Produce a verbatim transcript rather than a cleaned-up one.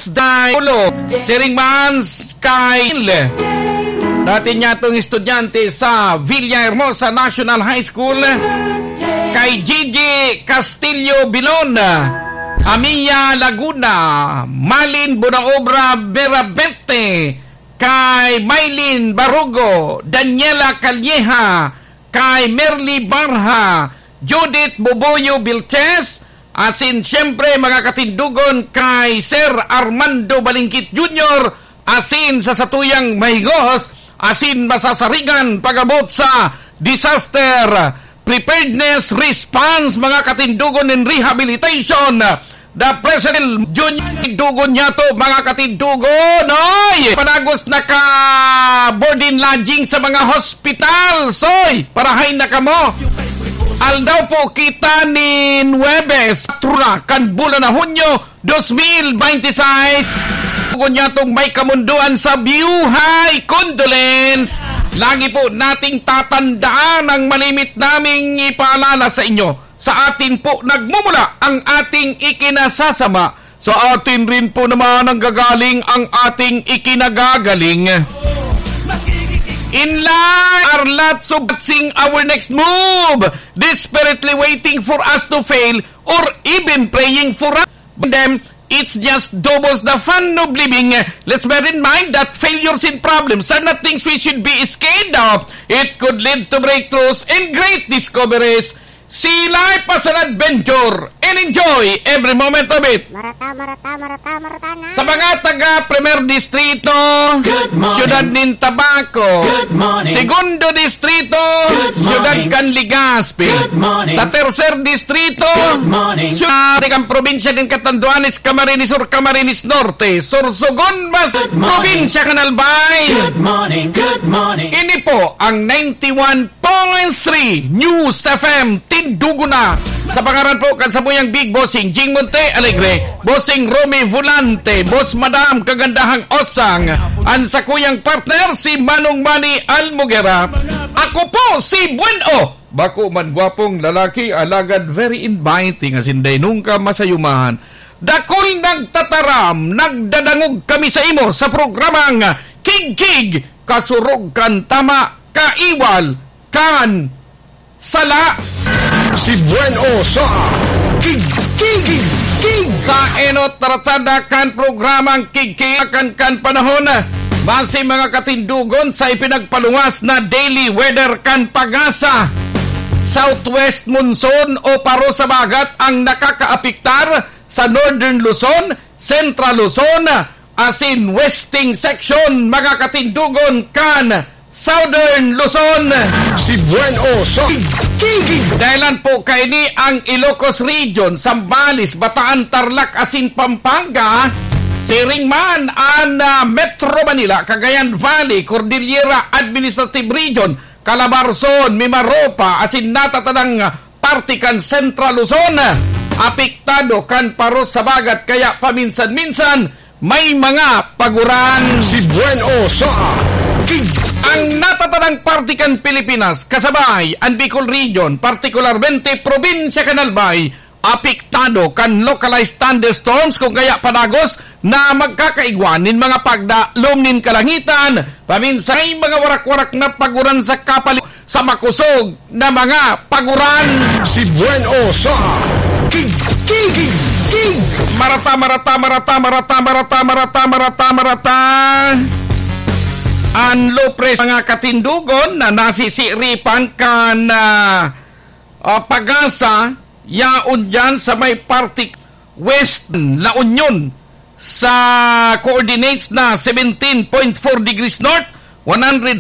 Dai Ulo, siring man kay dati niyatong estudyante sa Villahermosa National High School, kay Gigi Castillo Bilon, Amia Laguna, Malin Bonaobra Berabete, kay Mylene Barugo, Daniela Calleja, kay Merly Barha, Judith Boboyo Vilches, asin siyempre, mga katindugon, kay Sir Armando Balingkit Junior, asin sa satuyang mahigos asin masasarigan pag-abot sa disaster preparedness response, mga katindugon, and rehabilitation, the President Junior. Dugon niya to, mga katindugon, oy! Padagos na ka board and lodging sa mga hospital, soy! Parahay na kamo! Aldaw po kita nin Huwebes, patro na kan bulan na Hunyo, dos mil bente seis. Dugon niya tong may kamundoan sa biyuhay. Condolence! Lagi po nating tatandaan ang malimit naming ipaalala sa inyo. Sa atin po nagmumula ang ating ikinasasama. Sa atin rin po naman nanggagaling ang ating ikinagagaling. In life, are lots of seeing our next move, desperately waiting for us to fail or even praying for us. Them, it's just doubles the fun of living. Let's bear in mind that failures and problems are not things we should be scared of. It could lead to breakthroughs and great discoveries. See life as an adventure and enjoy every moment of it. Marata, marata, marata, marata na. Sa mga taga Primer Distrito, Good morning. Siyudad nin Tabaco, Good morning. Segundo Distrito, Good morning. Siyudad kan Legazpi. Good morning. Sa Tercer Distrito, Good morning. Siyudad kan Probinsya kan Catanduanes, Camarines Sur, Camarines Norte, Sorsogon, mas Good morning. Probinsya kan Albay. Good morning, good morning. Ini po ang ninety-one point three News F M, Tindugo na. Sa pangaran po kan samuyang Big Bossing Jing Monte Alegre, Bossing Romy Volante, Boss Madam Kagandahang Osang, an sakuyang partner si Manong Manny Almogera. Ako po si Buen O. Bako man gwapong lalaki, alagad very inviting, asin dai nungka masayumahan. Dakul nagtataram, nagdadangog kami sa imo sa programang Kigkig, kasurog kan tama, kaiwal kan sala. Si Buen O sa Kigkig. Sa enot na ratsada kan programang Kigkig kan, kan panahon, base mga katindugon sa ipinagpaluwas na daily weather kan PAGASA. Southwest monsoon o paro sa bagat ang nakakaapektar sa Northern Luzon, Central Luzon, asin Western Section, mga katindugon kan Southern Luzon. Si Buen O sa Kigkig. Dahilan po kaini ang Ilocos Region, Zambales, Bataan, Tarlac, asin Pampanga. Siring man an, ah, Metro Manila, Cagayan Valley, Cordillera Administrative Region, Calabarzon, Mimaropa, asin natatanang parte kan Central Luzon, apektado kan paros sa bagat, kaya paminsan-minsan may mga paguran. Si Buen O sa Kig- Ang natatanang parte kan Pilipinas, kasabay an Bicol Region, partikularmente probinsya kan Albay, apektado kan localized thunderstorms, kung kaya padagos na magkakaigwa nin mga pagdalom nin kalangitan, paminsan may mga warak-warak na paguran sa kapali-, sa makosog na mga paguran. Si Buen O sa Kig-, Kig-, Kig-, Kig-. Marata, marata, marata, marata, marata, marata, marata, marata. An low pressure, mga katindugon, na nasisiripan kan, ah, ah, PAGASA, yaon diyan sa may parte West La Union, sa coordinates na seventeen point four degrees north, one hundred